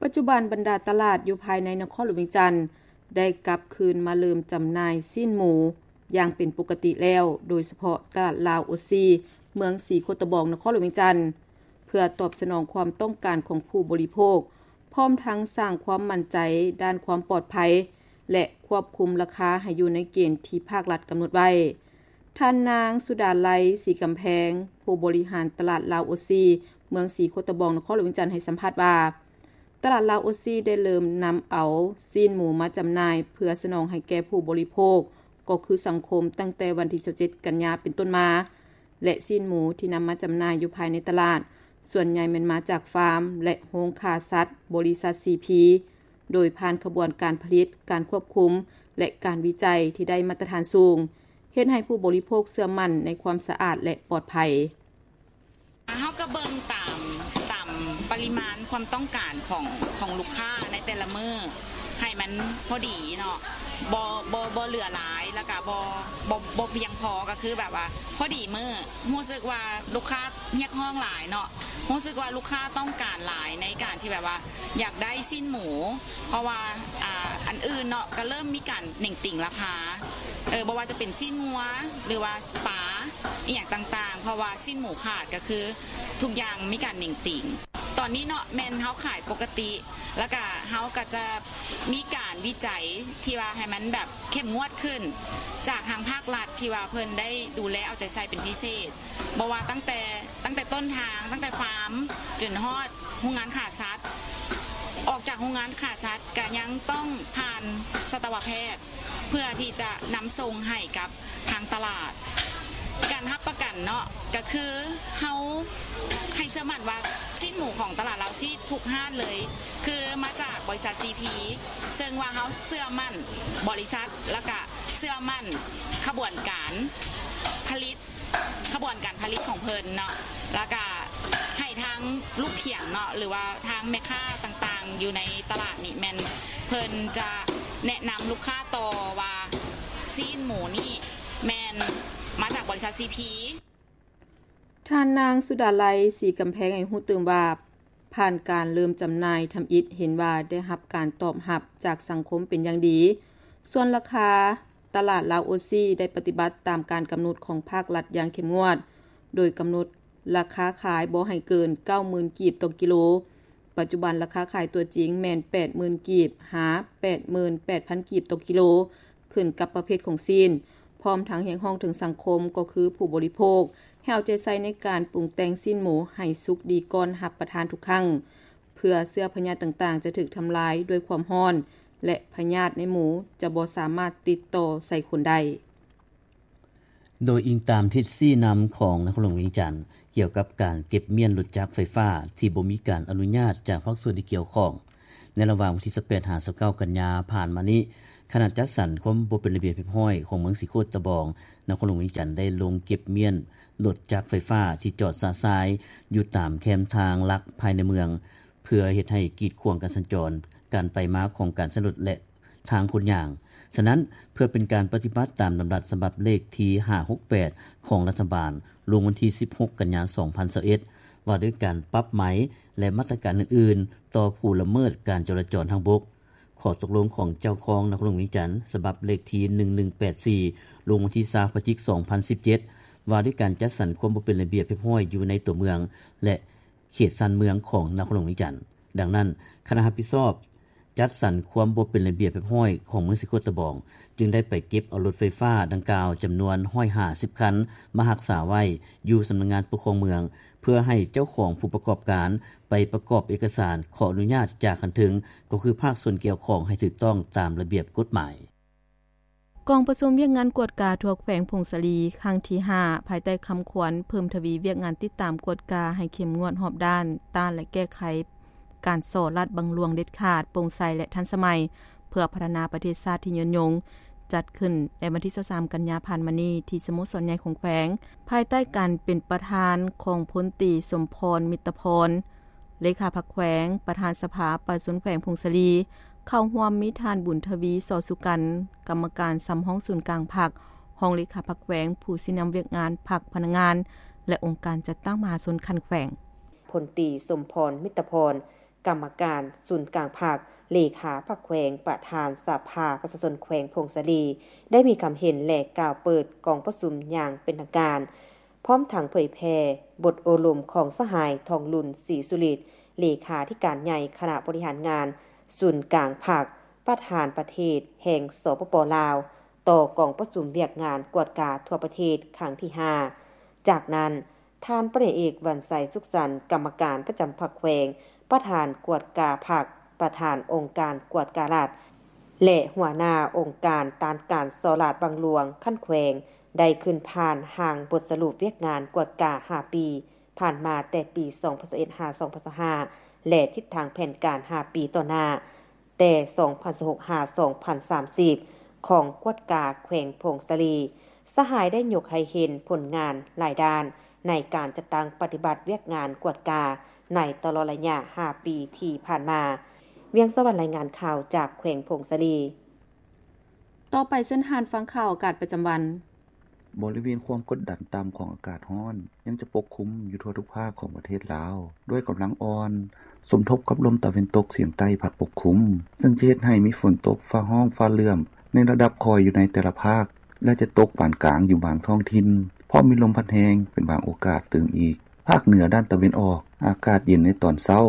ປັດຈຸບັນບັນດາຕະຫຼາດຢູ່ພາຍໃນນະຄອນຫຼວງວຽງຈັນ ໄດ້ກັບຄືນມາເລີ່ມຈຳໜ່າຍຊີ້ນໝູຢ່າງເປັນປົກກະຕິແລ້ວ, ໂດຍສະເພາະຕະຫຼາດລາວໂອຊີ ເມືອງສີໂຄດຕະບອງ ນະຄອນຫຼວງວຽງຈັນ ເພື່ອຕອບສະໜອງຄວາມຕ້ອງການຂອງຜູ້ບໍລິໂພກ, ພ້ອມທັງສ້າງຄວາມໝັ້ນໃຈດ້ານຄວາມປອດໄພ ແລະ ຄວບຄຸມລາຄາໃຫ້ຢູ່ໃນເກນທີ່ພາກລັດກຳນົດໄວ້. ທ່ານນາງ ສຸດາໄລ ສີກຳແພງ ຜູ້ບໍລິຫານຕະຫຼາດລາວໂອຊີ ເມືອງສີໂຄດຕະບອງ ນະຄອນຫຼວງວຽງຈັນ ໃຫ້ສຳພາດວ່າ ຕະຫຼາດລາວໂອຊີໄດ້ເລີ່ມນຳເອົາຊີ້ນໝູມາຈຳໜ່າຍ ເພື່ອສະໜອງໃຫ້ແກ່ຜູ້ບໍລິໂພກ ກໍຄືສັງຄົມ ຕັ້ງແຕ່ວັນທີ ຊາວເຈັດ ກັນຍາ ເປັນຕົ້ນມາ ແລະ ຊີ້ນໝູທີ່ນຳມາຈຳໜ່າຍຢູ່ພາຍໃນຕະຫຼາດ ສ່ວນໃຫຍ່ແມ່ນມາຈາກຟາມ ແລະ ໂຮງຂ້າສັດ ບໍລິສັດ ຊີພີ ໂດຍຜ່ານຂະບວນການຜະລິດ, ການຄວບຄຸມ ແລະ ການວິໄຈທີ່ໄດ້ມາດຕະຖານສູງ, ເຮັດໃຫ້ຜູ້ບໍລິໂພກເຊື່ອໝັ້ນໃນຄວາມສະອາດ ແລະ ປອດໄພ. ເຮົາກໍເບິ່ງຕາມ, ຕາມປະລິມານຄວາມຕ້ອງການຂອງ, ຂອງລູກຄ້າໃນແຕ່ລະມື້ ໃຫ້ມັນພໍດີເນາະ, ບໍ່, ບໍ່, ບໍ່ເຫຼືອຫຼາຍ ແລ້ວກໍບໍ່, ບໍ່, ບໍ່ພຽງພໍ, ກໍຄືແບບວ່າພໍດີມື້. ຮູ້ສຶກວ່າລູກຄ້າຮຽກຮ້ອງຫຼາຍເນາະ, ຮູ້ສຶກວ່າລູກຄ້າຕ້ອງການຫຼາຍໃນການທີ່ແບບວ່າຢາກໄດ້ຊີ້ນໝູ, ເພາະວ່າ, ອ່າ, ອັນອື່ນເນາະ ກໍເລີ່ມມີການເໜັງຕີງລາຄາ, ເອີ, ບໍ່ວ່າຈະເປັນຊີ້ນງົວ ຫຼືວ່າປາ ອີ່ຫຍັງຕ່າງໆ, ເພາະວ່າຊີ້ນໝູຂາດ ກໍຄືທຸກຢ່າງມີການເໜັງຕີງ. ຕອນນີ້ເນາະ ແມ່ນເຮົາຂາຍປົກກະຕິ ແລ້ວກະເຮົາກໍຈະມີການວິໄຈທີ່ວ່າໃຫ້ມັນແບບເຂັ້ມງວດຂຶ້ນ ຈາກທາງພາກລັດທີ່ວ່າເພິ່ນໄດ້ດູແລເອົາໃຈໃສ່ເປັນພິເສດ, ບໍ່ວ່າຕັ້ງແຕ່, ຕັ້ງແຕ່ຕົ້ນທາງ, ຕັ້ງແຕ່ຟາມຈົນຮອດໂຮງງານຂ້າສັດ. ອອກຈາກໂຮງງານຂ້າສັດກໍຍັງຕ້ອງຜ່ານສັດຕະວະແພດ ເພື່ອທີ່ຈະນຳສົ່ງໃຫ້ກັບ ທາງຕະຫຼາດ. ການຮັບປະກັນເນາະ ກໍຄືເຮົາໃຫ້ເຊື່ອໝັ້ນວ່າຊີ້ນໝູຂອງຕະຫຼາດລາວຊີທຸກຮ້ານເລີຍ ຄືມາຈາກບໍລິສັດ ຊີພີ ເຊິ່ງວ່າເຮົາເຊື່ອໝັ້ນບໍລິສັດ ແລ້ວກະເຊື່ອໝັ້ນຂະບວນການຜະລິດ, ຂະບວນການຜະລິດຂອງເພິ່ນເນາະ. ແລ້ວກະໃຫ້ທາງລູກຂຽງເນາະ ຫຼືວ່າທາງແມ່ຄ້າຕ່າງໆຢູ່ໃນຕະຫຼາດນີ້ ແມ່ນເພິ່ນຈະແນະນຳລູກຄ້າຕໍ່ວ່າຊີ້ນໝູນີ້ແມ່ນມາຈາກບໍລິສັດ ຊີພີ. ທ່ານນາງ ສຸດາໄລ ສີກຳແພງ ໃຫ້ຮູ້ຕື່ມວ່າ ຜ່ານການເລີ່ມຈຳໜ່າຍທຳອິດ ເຫັນວ່າໄດ້ຮັບການຕອບຮັບຈາກສັງຄົມເປັນຢ່າງດີ. ສ່ວນລາຄາ ຕະຫຼາດລາວໂອຊີໄດ້ປະຕິບັດຕາມການກຳນົດຂອງພາກລັດຢ່າງເຂັ້ມງວດ, ໂດຍກຳນົດລາຄາຂາຍບໍ່ໃຫ້ເກີນເກົ້າໝື່ນກີບຕໍ່ກິໂລ. ປັດຈຸບັນລາຄາຂາຍຕົວຈິງແມ່ນແປດໝື່ນກີບຫາແປດໝື່ນແປດພັນກີບຕໍ່ກິໂລ, ຂຶ້ນກັບປະເພດຂອງຊີ້ນ, ພ້ອມທັງຮຽກຮ້ອງເຖິງສັງຄົມ ກໍຄືຜູ້ບໍລິໂພກ ໃຫ້ເອົາໃຈໃສ່ໃນການປຸງແຕ່ງຊີ້ນໝູໃຫ້ສຸກດີກ່ອນຮັບປະທານທຸກຄັ້ງ, ເພື່ອເຊື້ອພະຍາດຕ່າງໆຈະຖືກທຳລາຍດ້ວຍຄວາມຮ້ອນ ແລະ ພະຍາດໃນໝູຈະບໍ່ສາມາດຕິດຕໍ່ໃສ່ຄົນໄດ້. ໂດຍອີງຕາມທິດຊີ້ນຳຂອງນະຄອນຫຼວງວຽງຈັນ ກ່ຽວກັບການເກັບມ້ຽນລົດຈັກໄຟຟ້າທີ່ບໍ່ມີການອະນຸຍາດຈາກພາກສ່ວນທີ່ກ່ຽວຂ້ອງ, ໃນລະຫວ່າງວັນທີຊາວແປດຫາຊາວເກົ້າກັນຍາຜ່ານມານີ້, ຄະນະຈັດສັນຄວາມບໍ່ເປັນລະບຽບຮຽບຮ້ອຍຂອງເມືອງສີໂຄດຕະບອງ ນະຄອນຫຼວງວຽງຈັນ ໄດ້ລົງເກັບມ້ຽນລົດຈັກໄຟຟ້າທີ່ຈອດຊະຊາຍຢູ່ຕາມແຄມທາງຫຼັກພາຍໃນເມືອງ ເພື່ອເຮັດໃຫ້ກີດຂວາງການສັນຈອນ, ການໄປມາຂອງການໃຊ້ລົດ ແລະ ທາງຄົນຍ່າງ. ສະນັ້ນ, ເພື່ອເປັນການປະຕິບັດຕາມດຳລັດສະບັບເລກທີຫ້າຫົກແປດຂອງລັດຖະບານ ລົງວັນທີສິບຫົກ ກັນຍາ ສອງພັນຊາວເອັດ ວ່າດ້ວຍການປັບໃໝ ແລະ ມາດຕະການອື່ນໆ ຕໍ່ຜູ້ລະເມີດການຈະລາຈອນທາງບົກ, ຂໍ້ຕົກລົງຂອງເຈົ້າຄອງນະຄອນຫຼວງວຽງຈັນ ສະບັບເລກທີໜຶ່ງໜຶ່ງແປດສີ່ ລົງວັນທີຊາວ ພະຈິກ ສອງພັນສິບເຈັດ ວ່າດ້ວຍການຈັດສັນຄວາມບໍ່ເປັນລະບຽບຮຽບຮ້ອຍຢູ່ໃນຕົວເມືອງ ແລະ ເຂດຊານເມືອງຂອງນະຄອນຫຼວງວຽງຈັນ. ດັ່ງນັ້ນ, ຄະນະຮັບຜິດຊອບຈັດສັນຄວາມບໍ່ເປັນລະບຽບຮຽບຮ້ອຍຂອງເມືອງສີໂຄດຕະບອງ ຈຶ່ງໄດ້ໄປເກັບເອົາລົດໄຟຟ້າດັ່ງກ່າວຈຳນວນຮ້ອຍຫ້າສິບຄັນ ມາຮັກສາໄວ້ຢູ່ສຳນັກງານປົກຄອງເມືອງ ເພື່ອໃຫ້ເຈົ້າຂອງຜູ້ປະກອບການໄປປະກອບເອກະສານຂໍອະນຸຍາດຈາກຂັ້ນເທິງ ກໍຄືພາກສ່ວນກ່ຽວຂ້ອງໃຫ້ຖືກຕ້ອງຕາມລະບຽບກົດໝາຍ. ກອງປະຊຸມວຽກງານກວດກາທົ່ວແຂວງຜົ້ງສາລີຄັ້ງທີຫ້າ ພາຍໃຕ້ຄຳຂວັນເພີ່ມທະວີວຽກງານຕິດຕາມກວດກາໃຫ້ເຂັ້ມງວດຮອບດ້ານ, ຕ້ານ ແລະ ແກ້ໄຂການສໍ້ລາດບັງຫຼວງເດັດຂາດ, ໂປ່ງໃສ ແລະ ທັນສະໄໝ ເພື່ອພັດທະນາປະເທດຊາດທີ່ຍືນຍົງ, ຈັດຂຶ້ນໃນວັນທີຊາວສາມ ກັນຍາຜ່ານມານີ້ ທີ່ສະໂມສອນໃຫຍ່ຂອງແຂວງ, ພາຍໃຕ້ການເປັນປະທານຂອງພົນຕີ ສົມພອນ ມິດຕະພອນ ເລຂາພັກແຂວງ, ປະທານສະພາປະຊາຊົນແຂວງຜົ້ງສາລີ, ເຂົ້າຮ່ວມມີທ່ານ ບຸນທະວີ ສໍສຸກັນ ກຳມະການສຳຮອງສູນກາງພັກ, ຮອງເລຂາພັກແຂວງ, ຜູ້ຊີ້ນຳວຽກງານພັກ, ພະນັກງານ ແລະ ອົງການຈັດຕັ້ງມະຫາຊົນຂັ້ນແຂວງ. ພົນຕີ ສົມພອນ ມິດຕະພອນ ກຳມະການສູນກາງພັກ, ເລຂາພັກແຂວງ, ປະທານສະພາປະຊາຊົນແຂວງຜົ້ງສາລີ ໄດ້ມີຄຳເຫັນ ແລະ ກ່າວເປີດກອງປະຊຸມຢ່າງເປັນທາງການ. ພ້ອມທັງເຜີຍແຜ່ບົດໂອ້ລົມຂອງສະຫາຍ ທອງລຸນ ສີສຸລິດ ເລຂາທິການໃຫຍ່ຄະນະບໍລິຫານງານສູນກາງພັກ, ປະທານປະເທດແຫ່ງ ສປປ ລາວ ຕໍ່ກອງປະຊຸມວຽກງານກວດກາທົ່ວປະເທດຄັ້ງທີຫ້າ. ຈາກນັ້ນ, ທ່ານ ປະເອກ ວັນໄຊ ສຸກສັນ ກຳມະການປະຈຳພັກແຂວງ, ປະທານກວດກາພັກ, ປະທານອົງການກວດກາລັດ ແລະ ຫົວໜ້າອົງການຕ້ານການສໍ້ລາດບັງຫຼວງຂັ້ນແຂວງ ໄດ້ຂຶ້ນຜ່ານຮ່າງບົດສະຫຼຸບວຽກງານກວດກາຫ້າປີຜ່ານມາ ແຕ່ປີສອງພັນຊາວເອັດ ຫາ ສອງພັນຊາວຫ້າ ແລະ ທິດທາງແຜນການຫ້າປີຕໍ່ໜ້າ ແຕ່ສອງພັນຊາວຫົກ ຫາ ສອງພັນສາມສິບ ຂອງກວດກາແຂວງຜົ້ງສາລີ. ສະຫາຍໄດ້ຍົກໃຫ້ເຫັນຜົນງານຫຼາຍດ້ານໃນການຈັດຕັ້ງປະຕິບັດວຽກງານກວດກາໃນຕະຫຼອດໄລຍະຫ້າປີທີ່ຜ່ານມາ. ວຽງສະຫວັນ ລາຍງານຂ່າວຈາກແຂວງຜົ້ງສາລີ. ຕໍ່ໄປເຊີນທ່ານຟັງຂ່າວອາກາດປະຈຳວັນ. ບໍລິເວນຄວາມກົດດັນຕ່ຳຂອງອາກາດຮ້ອນ ຍັງຈະປົກຄຸມຢູ່ທົ່ວທຸກພາກຂອງປະເທດລາວ ດ້ວຍກຳລັງອ່ອນ ສົມທົບກັບລົມຕາເວັນຕົກສຽງໃຕ້ພັດປົກຄຸມ, ເຊິ່ງຈະເຮັດໃຫ້ມີຝົນຕົກ, ຟ້າຮ້ອງ, ຟ້າເຫຼື້ອມ ໃນລະດັບຄ່ອຍຢູ່ໃນແຕ່ລະພາກ ແລະ ຈະຕົກປານກາງຢູ່ບາງທ້ອງຖິ່ນ, ພ້ອມມີລົມພັດແຮງເປັນບາງໂອກາດຕື່ມອີກ. ພາກເໜືອດ້ານຕາເວັນອອກ, ອາກາດເຢັນໃນຕອນເຊົ້າ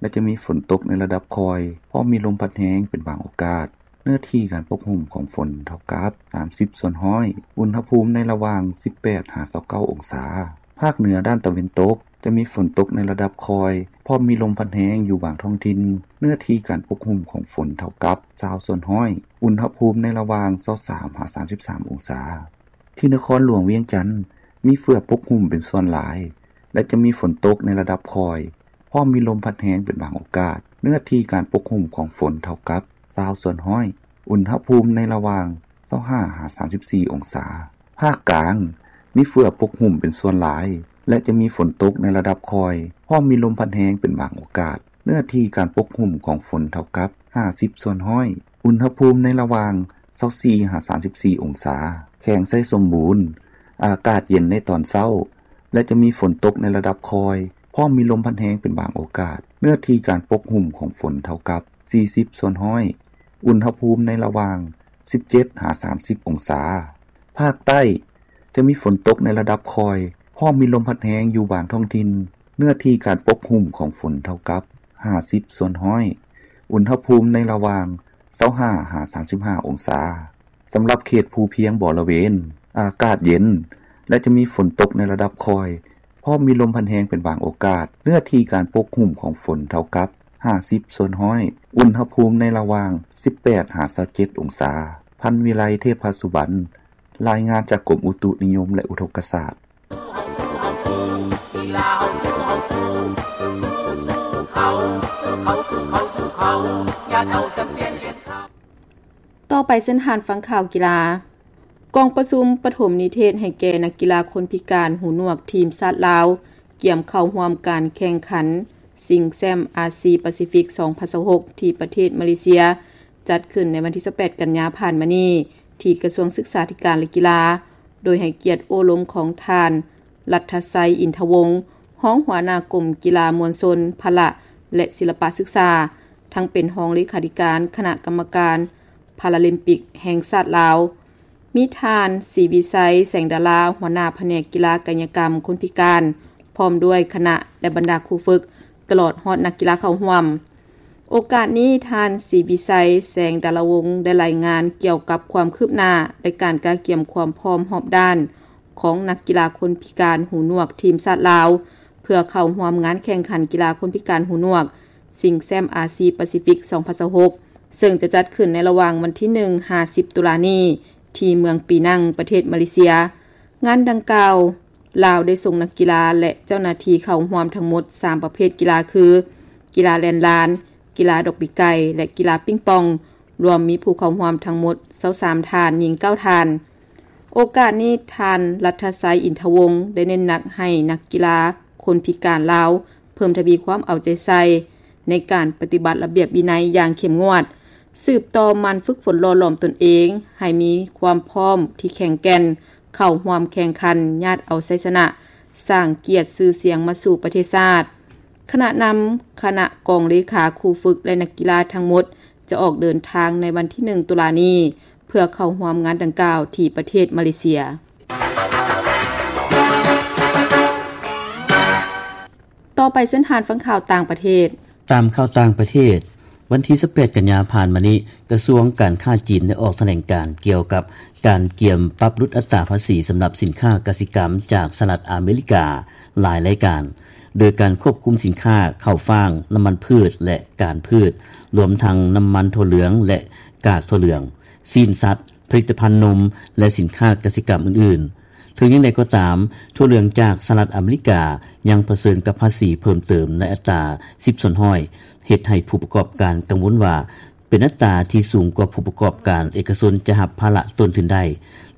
ແລະ ຈະມີຝົນຕົກໃນລະດັບຄ່ອຍ, ພ້ອມມີລົມພັດແຮງເປັນບາງໂອກາດ. ເນື້ອທີ່ການປົກຫຸ້ມຂອງຝົນເທົ່າກັບສາມສິບສ່ວນຮ້ອຍ, ອຸນຫະພູມໃນລະຫວ່າງສິບແປດຫາຊາວເກົ້າອົງສາ. ພາກເໜືອດ້ານຕາເວັນຕົກ ຈະມີຝົນຕົກໃນລະດັບຄ່ອຍ, ພ້ອມມີລົມພັດແຮງຢູ່ບາງທ້ອງຖິ່ນ. ເນື້ອທີ່ການປົກຫຸ້ມຂອງຝົນເທົ່າກັບຊາວສ່ວນຮ້ອຍ, ອຸນຫະພູມໃນລະຫວ່າງຊາວສາມຫາສາມສິບສາມອົງສາ. ທີ່ນະຄອນຫຼວງວຽງຈັນ ມີເຝືອປົກຫຸ້ມເປັນສ່ວນຫຼາຍ ແລະ ຈະມີຝົນຕົກໃນລະດັບຄ່ອຍ, ພ້ອມມີລົມພັດແຮງເປັນບາງໂອກາດ. ເນື້ອທີ່ການປົກຫຸ້ມຂອງຝົນເທົ່າກັບຊາວສ່ວນຮ້ອຍ, ອຸນຫະພູມໃນລະຫວ່າງຊາວຫ້າຫາສາມສິບສີ່ອົງສາ. ພາກກາງ ມີເຝືອປົກຫຸ້ມເປັນສ່ວນຫຼາຍ ແລະ ຈະມີຝົນຕົກໃນລະດັບຄ່ອຍ, ພ້ອມມີລົມພັດແຮງເປັນບາງໂອກາດ. ເນື້ອທີ່ການປົກຫຸ້ມຂອງຝົນເທົ່າກັບຫ້າສິບສ່ວນຮ້ອຍ, ອຸນຫະພູມໃນລະຫວ່າງຊາວສີ່ຫາສາມສິບສີ່ອົງສາ. ແຂວງໄຊສົມບູນ ອາກາດເຢັນໃນຕອນເຊົ້າ ແລະ ຈະມີຝົນຕົກໃນລະດັບຄ່ອຍ, ພ້ອມມີລົມພັດແຮງເປັນບາງໂອກາດ. ເນື້ອທີ່ການປົກຫຸ້ມຂອງຝົນເທົ່າກັບສີ່ສິບສ່ວນຮ້ອຍ, ອຸນຫະພູມໃນລະຫວ່າງສິບເຈັດຫາສາມສິບອົງສາ. ພາກໃຕ້ ຈະມີຝົນຕົກໃນລະດັບຄ່ອຍ, ພ້ອມມີລົມພັດແຮງຢູ່ບາງທ້ອງຖິ່ນ. ເນື້ອທີ່ການປົກຫຸ້ມຂອງຝົນເທົ່າກັບຫ້າສິບສ່ວນຮ້ອຍ, ອຸນຫະພູມໃນລະຫວ່າງຊາວຫ້າຫາສາມສິບຫ້າອົງສາ. ສຳລັບເຂດພູພຽງບໍລະເວນ ອາກາດເຢັນ ແລະ ຈະມີຝົນຕົກໃນລະດັບຄ່ອຍ, ພ້ອມມີລົມພັດແຮງເປັນບາງໂອກາດ. ເນື້ອທີ່ການປົກຫຸ້ມຂອງຝົນເທົ່າກັບຫ້າສິບສ່ວນຮ້ອຍ, ອຸນຫະພູມໃນລະຫວ່າງສິບແປດຫາຊາວເຈັດອົງສາ. ພັນວິໄລ ເທບພະສຸບັນ ລາຍງານຈາກກົມອຸຕຸນິຍົມ ແລະ ອຸທົກກະສາດ. ຕໍ່ໄປເຊີນທ່ານຟັງຂ່າວກິລາ. ກອງປະຊຸມປະຖົມນິເທດໃຫ້ແກ່ນັກກິລາຄົນພິການຫູໜວກທີມຊາດລາວ ກຽມເຂົ້າຮ່ວມການແຂ່ງຂັນຊິງແຊ້ມອາຊີປາຊີຟິກ ສອງພັນຊາວຫົກ ທີ່ປະເທດມາເລເຊຍ ຈັດຂຶ້ນໃນວັນທີຊາວແປດ ກັນຍາຜ່ານມານີ້ ທີ່ກະຊວງສຶກສາທິການ ແລະ ກິລາ ໂດຍໃຫ້ກຽດໂອ້ລົມຂອງທ່ານ ລັດທະໄຊ ອິນທະວົງ ຮອງຫົວໜ້າກົມກິລາມວນຊົນ ພະລະ ແລະ ສິລະປະສຶກສາ, ທັງເປັນຮອງເລຂາທິການຄະນະກຳມະການພາລາລິມປິກແຫ່ງຊາດລາວ, ມີທ່ານ ສີວິໄຊ ແສງດາລາ ຫົວໜ້າພະແນກກິລາກາຍະກຳຄົນພິການ, ພ້ອມດ້ວຍຄະນະ ແລະ ບັນດາຄູຝຶກ, ຕະຫຼອດຮອດນັກກິລາເຂົ້າຮ່ວມ. ໂອກາດນີ້ ທ່ານ ສີວິໄຊ ແສງດາລາວົງ ໄດ້ລາຍງານກ່ຽວກັບຄວາມຄືບໜ້າ ແລະ ການກະກຽມຄວາມພ້ອມຮອບດ້ານຂອງນັກກິລາຄົນພິການຫູໜວກທີມຊາດລາວ ເພື່ອເຂົ້າຮ່ວມງານແຂ່ງຂັນກິລາຄົນພິການຫູໜວກ ຊິງແຊ້ມອາຊີປາຊີຟິກ ສອງພັນຊາວຫົກ ເຊິ່ງຈະຈັດຂຶ້ນໃນລະຫວ່າງວັນທີໜຶ່ງ ຫາ ສິບ ຕຸລານີ້ ທີ່ເມືອງປີນັງ ປະເທດມາເລເຊຍ. ງານດັ່ງກ່າວ ລາວໄດ້ສົ່ງນັກກິລາ ແລະ ເຈົ້າໜ້າທີ່ເຂົ້າຮ່ວມທັງໝົດສາມປະເພດກິລາຄື ກິລາແລ່ນລານ, ກິລາດອກປີກໄກ່ ແລະ ກິລາປິງປອງ, ລວມມີຜູ້ເຂົ້າຮ່ວມທັງໝົດຊາວສາມທ່ານ, ຍິງເກົ້າທ່ານ. ໂອກາດນີ້ ທ່ານ ລັດທະໄຊ ອິນທະວົງ ໄດ້ເນັ້ນໜັກໃຫ້ນັກກິລາຄົນພິການລາວ ເພີ່ມທະວີຄວາມເອົາໃຈໃສ່ໃນການປະຕິບັດລະບຽບວິໄນຢ່າງເຂັ້ມງວດ, ສືບຕໍ່ໝັ່ນຝຶກຝົນຫຼໍ່ຫຼອມຕົນເອງໃຫ້ມີຄວາມພ້ອມທີ່ແຂງແກ່ນ, ເຂົ້າຮ່ວມແຂ່ງຂັນ, ຍາດເອົາໄຊຊະນະ, ສ້າງກຽດຊື່ສຽງມາສູ່ປະເທດຊາດ. ຄະນະນຳຄະນະກອງເລຂາ, ຄູຝຶກ ແລະ ນັກກິລາທັງໝົດ ຈະອອກເດີນທາງໃນວັນທີໜຶ່ງ ຕຸລານີ້ ເພື່ອເຂົ້າຮ່ວມງານດັ່ງກ່າວທີ່ປະເທດມາເລເຊຍ. ຕໍ່ໄປເຊີນທ່ານຟັງຂ່າວຕ່າງປະເທດ. ຕາມຂ່າວຕ່າງປະເທດ, ວັນທີຊາວແປດ ກັນຍາຜ່ານມານີ້, ກະຊວງການຄ້າຈີນໄດ້ອອກຖະແຫຼງການກ່ຽວກັບການກຽມປັບຫຼຸດອັດຕາພາສີສຳລັບສິນຄ້າກະສິກຳຈາກສະຫະລັດອາເມລິກາຫຼາຍລາຍການ, ໂດຍການຄວບຄຸມສິນຄ້າເຂົ້າຟາງ, ນ້ຳມັນພືດ ແລະ ການພືດ, ລວມທັງນ້ຳມັນຖົ່ວເຫຼືອງ ແລະ ກາກຖົ່ວເຫຼືອງ, ຊີ້ນສັດ, ຜະລິດຕະພັນນົມ ແລະ ສິນຄ້າກະສິກຳອື່ນໆ. ເຖິງຢ່າງໃດກໍຕາມ, ຖົ່ວເຫຼືອງຈາກສະຫະລັດອາເມລິກາຍັງປະເຊີນກັບພາສີເພີ່ມເຕີມໃນອັດຕາສິບສ່ວນຮ້ອຍ, ເຮັດໃຫ້ຜູ້ປະກອບການກັງວົນວ່າ ເປັນອັດຕາທີ່ສູງກວ່າຜູ້ປະກອບການເອກະຊົນຈະຮັບພາລະຕົ້ນທຶນໄດ້,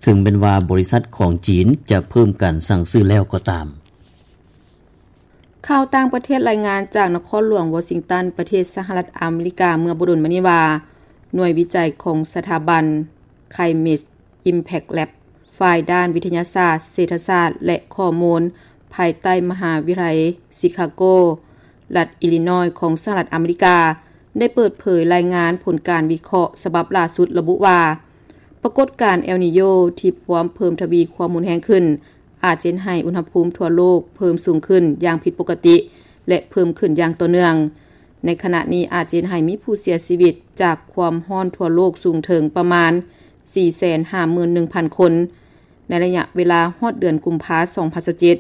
ເຖິງແມ່ນວ່າບໍລິສັດຂອງຈີນຈະເພີ່ມການສັ່ງຊື້ແລ້ວກໍຕາມ. ຂ່າວຕ່າງປະເທດ, ລາຍງານຈາກນະຄອນຫຼວງວໍຊິງຕັນ ປະເທດສະຫະລັດອາເມລິກາ ເມື່ອບໍ່ດົນມານີ້ວ່າ ໜ່ວຍວິໄຈຂອງສະຖາບັນ Climate Impact Lab ຝ່າຍດ້ານວິທະຍາສາດ, ເສດຖະສາດ ແລະ ຂໍ້ມູນ ພາຍໃຕ້ມະຫາວິທະຍາໄລຊິຄາໂກ ລັດອີລີນອຍ ຂອງສະຫະລັດອາເມລິກາ ໄດ້ເປີດເຜີຍລາຍງານຜົນການວິເຄາະສະບັບລ່າສຸດລະບຸວ່າ ປາກົດການເອລນີໂຍທີ່ພວມເພີ່ມທະວີຄວາມຮຸນແຮງຂຶ້ນ ອາດຈະເຮັດໃຫ້ອຸນຫະພູມທົ່ວໂລກເພີ່ມສູງຂຶ້ນຢ່າງຜິດປົກກະຕິ ແລະ ເພີ່ມຂຶ້ນຢ່າງຕໍ່ເນື່ອງ. ໃນຂະນະນີ້ອາດຈະເຮັດໃຫ້ມີຜູ້ເສຍຊີວິດຈາກຄວາມຮ້ອນທົ່ວໂລກສູງເຖິງປະມານສີ່ແສນຫ້າໝື່ນໜຶ່ງພັນຄົນ ໃນໄລຍະເວລາຮອດເດືອນກຸມພາ ສອງພັນຊາວເຈັດ.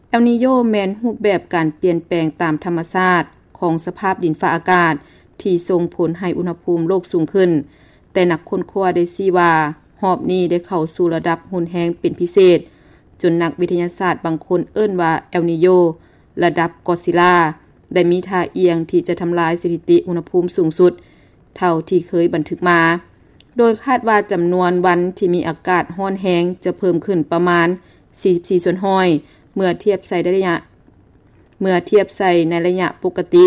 ເອລນີໂຍແມ່ນຮູບແບບການປ່ຽນແປງຕາມທຳມະຊາດຂອງສະພາບດິນຟ້າອາກາດທີ່ສົ່ງຜົນໃຫ້ອຸນຫະພູມໂລກສູງຂຶ້ນ, ແຕ່ນັກຄົ້ນຄວ້າໄດ້ຊີ້ວ່າ ຮອບນີ້ໄດ້ເຂົ້າສູ່ລະດັບຮຸນແຮງເປັນພິເສດ, ຈົນນັກວິທະຍາສາດບາງຄົນເອີ້ນວ່າເອລນີໂຍ ລະດັບກໍອດຊິລາ ໄດ້ມີທ່າອ່ຽງທີ່ຈະທຳລາຍສະຖິຕິອຸນຫະພູມສູງສຸດເທົ່າທີ່ເຄີຍບັນທຶກມາ, ໂດຍຄາດວ່າຈຳນວນວັນທີ່ມີອາກາດຮ້ອນແຮງຈະເພີ່ມຂຶ້ນປະມານສີ່ສິບສີ່ສ່ວນຮ້ອຍ ເມື່ອທຽບໃສ່ໄລຍະ ເມື່ອທຽບໃສ່ໃນໄລຍະປົກກະຕິ,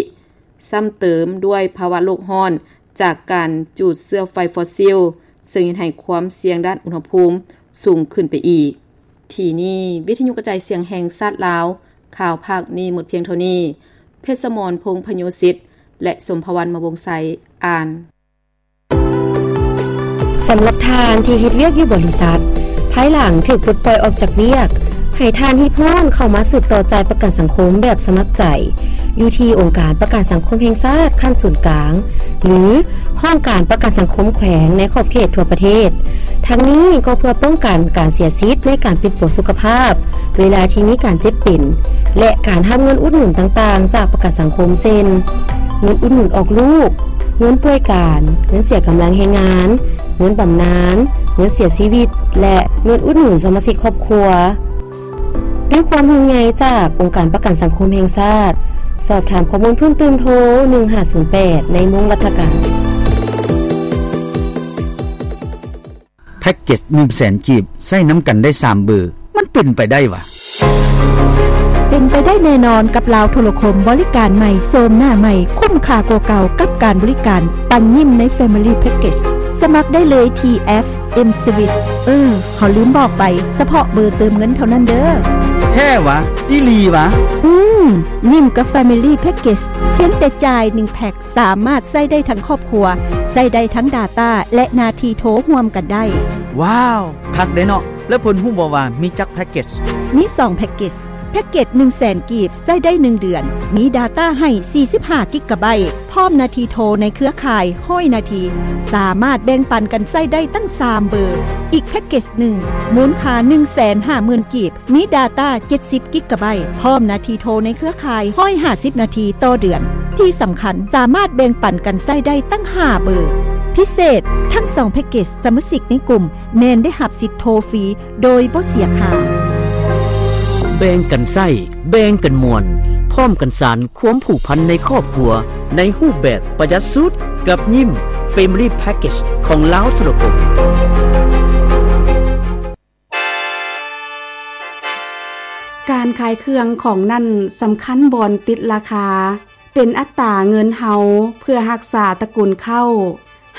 ຊ້ຳເຕີມດ້ວຍພາວະໂລກຮ້ອນຈາກການຈູດເຊື້ອໄຟຟອດຊິວ, ເຊິ່ງເຮັດໃຫ້ຄວາມສ່ຽງດ້ານອຸນຫະພູມສູງຂຶ້ນໄປອີກ. ທີ່ນີ້ ວິທະຍຸກະຈາຍສຽງແຫ່ງຊາດລາວ, ຂ່າວພາກນີ້ໝົດພຽງເທົ່ານີ້. ເພັດສະໝອນ ພົງພະໂຍສິດ ແລະ ສົມພະວັນ ມະວົງໄຊ ອ່ານ. ສຳລັບທ່ານທີ່ເຮັດວຽກຢູ່ບໍລິສັດ, ພາຍຫຼັງຖືກປົດປ່ອຍອອກຈາກວຽກ, ໃຫ້ທ່ານຮີບຮ້ອນເຂົ້າມາສືບຕໍ່ຈ່າຍປະກັນສັງຄົມແບບສະໝັກໃຈ ຢູ່ທີ່ອົງການປະກັນສັງຄົມແຫ່ງຊາດຂັ້ນສູນກາງ ຫຼື ຫ້ອງການປະກັນສັງຄົມແຂວງໃນຂອບເຂດທົ່ວປະເທດ. ທັງນີ້ກໍເພື່ອປ້ອງກັນການເສຍສິດໃນການປິ່ນປົວສຸຂະພາບ ເວລາທີ່ມີການເຈັບເປັນ ແລະ ການຮັບເງິນອຸດໜູນຕ່າງໆຈາກປະກັນສັງຄົມ ເຊັ່ນ ເງິນອຸດໜູນອອກລູກ, ເງິນປ່ວຍການ, ເງິນເສຍກຳລັງແຮງງານ, ເງິນບຳນານ, ເງິນເສຍຊີວິດ ແລະ ເງິນອຸດໜູນສະມາຊິກຄອບຄົວ. ດ້ວຍຄວາມຫ່ວງໃຍຈາກອົງການປະກັນສັງຄົມແຫ່ງຊາດ, ສອບຖາມຂໍ້ມູນເພີ່ມເຕີມໂທ ໜຶ່ງຫ້າສູນແປດ ໃນໂມງລັດຖະການ. ກເກັດໜຶ່ງແສນກີບ ໃຊ້ນຳກັນໄດ້ສາມເບີ ມັນເປັນໄປໄດ້ຫວາ? ເປັນໄປໄດ້ແນ່ນອນກັບລາວໂທລະຄົມ ບໍລິການໃໝ່ ໂສມໜ້າໃໝ່ ຄຸ້ມຄ່າກວ່າເກົ່າກັບການບໍລິການປັນຍິ້ມໃນ Family Package ສະໝັກໄດ້ເລີຍທີ່ແອັບ M-Swiss. ເອີ ເຮົາລືມບອກໄປ, ສະເພາະເບີເຕີມເງິນເທົ່ານັ້ນເດີ້. ແທ້ຫວາ? ອີ່ຫຼີຫວາ? ອືມ, ຍິ້ມກັບ Family Package ພຽງແຕ່ຈ່າຍໜຶ່ງແພັກ ສາມາດໃຊ້ໄດ້ທັງຄອບຄົວ, ໃຊ້ໄດ້ທັງ data ແລະ ນາທີໂທຮ່ວມກັນໄດ້. ວ້າວ, ຄັກເດເນາະ. ແລ້ວເພິ່ນຮູ້ບໍ່ວ່າມີຈັກແພັກເກັດ? ມີສອງແພັກເກັດ. ແພັກເກັດໜຶ່ງແສນກີບ ໃຊ້ໄດ້ໜຶ່ງເດືອນ, ມີ data ໃຫ້ສີ່ສິບຫ້າກິກກະໄບ, ພ້ອມນາທີໂທໃນເຄືອຂ່າຍຮ້ອຍນາທີ, ສາມາດແບ່ງປັນກັນໃຊ້ໄດ້ຕັ້ງສາມເບີ. ອີກແພັກເກັດໜຶ່ງ ມູນຄ່າໜຶ່ງແສນຫ້າໝື່ນກີບ, ມີ data ເຈັດສິບກິກກະໄບ, ພ້ອມນາທີໂທໃນເຄືອຂ່າຍຮ້ອຍຫ້າສິບນາທີຕໍ່ເດືອນ. ທີ່ສຳຄັນ, ສາມາດແບ່ງປັນກັນໃຊ້ໄດ້ຕັ້ງຫ້າເບີ. ພິເສດ, ທັງສອງແພັກເກັດ ສະມາຊິກໃນກຸ່ມ ແມ່ນໄດ້ຮັບສິດໂທຟຣີໂດຍບໍ່ເສຍຄ່າ. ແບ່ງກັນໃຊ້, ແບ່ງກັນມ່ວນ, ພ້ອມກັນສານຄວາມຜູກພັນໃນຄອບຄົວ ໃນຮູບແບບປະຢັດສຸດ ກັບຍິ້ມ Family Package ຂອງລາວໂທລະຄົມ. ການຂາຍເຄື່ອງຂອງນັ້ນສຳຄັນບ່ອນຕິດລາຄາ, ເປັນອັດຕາເງິນເຮົາເພື່ອຮັກສາຕະກຸນເຄົ້າ,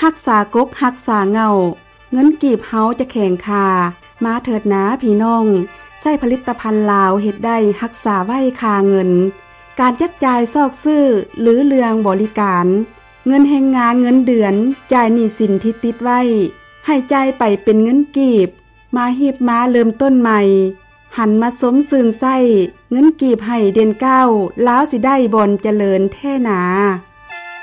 ຮັກສາກົກຮັກສາເຫງົ້າ, ເງິນກີບເຮົາຈະແຂງຄ່າ. ມາເຖີດນາພີ່ນ້ອງ, ໃຊ້ຜະລິດຕະພັນລາວເຮັດໄດ້ຮັກສາໄວ້ຄ່າເງິນ. ການຈັບຈ່າຍຊອກຊື້ ຫຼື ເລື່ອງບໍລິການ, ເງິນແຮງງານເງິນເດືອນ, ຈ່າຍໜີ້ສິນທີ່ຕິດໄວ້, ໃຫ້ຈ່າຍໄປເປັນເງິນກີບ. ມາຮີບມາເລີ່ມຕົ້ນໃໝ່, ຫັນມາຊົມຊື່ນໃຊ້, ເງິນກີບໃຫ້ເດັ່ນກ້າວ, ລາວຊິໄດ້ບ່ອນຈະເລີນແທ້ໜາ.